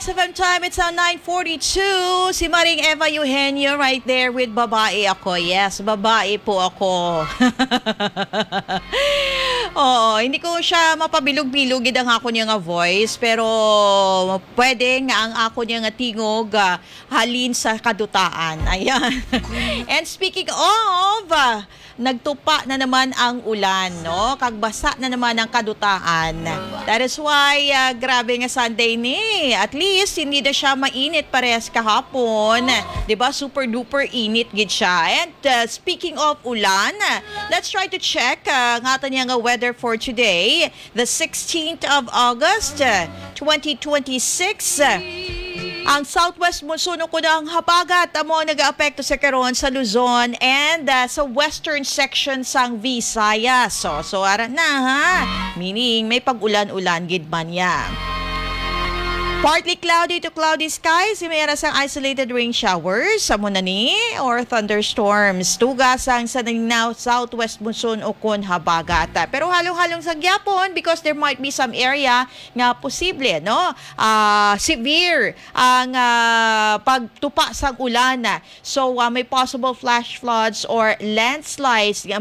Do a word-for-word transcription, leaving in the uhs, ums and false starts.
F M time, it's now nine forty-two. Si Maring Eva Eugenio right there with Babae Ako. Yes, babae po ako. Oo, hindi ko siya mapabilog-bilog gid ang ako niya nga voice, pero pwede nga ang ako niya nga tingog, ah, halin sa kadutaan. Ayan. And speaking of, ah, nagtupa na naman ang ulan, no? Kag basa na naman ang kadutaan. That is why, ah, grabe nga Sunday ni. At least, hindi na siya mainit parehas kahapon. 'Di ba? Super duper init gid siya. And, ah, speaking of ulan, let's try to check, ah, ang aton nga weather for today, the sixteenth of August, ah, twenty twenty-six. Ang southwest monsoon o kunang habagat amo ang nagaapekto sa karon sa Luzon and, ah, sa western section sang Visayas. So, so ara na, ha. Meaning may pag-ulan-ulan gid man ya. Partly cloudy to cloudy skies, may ara sang isolated rain showers, amo na ni, or thunderstorms. Tuga sang sa naging southwest monsoon o kun habagat. Pero halong-halong sa gyapon because there might be some area nga posible, no? Ah, severe ang, ah, pagtupa sang ulan. So, ah, may possible flash floods or landslides nga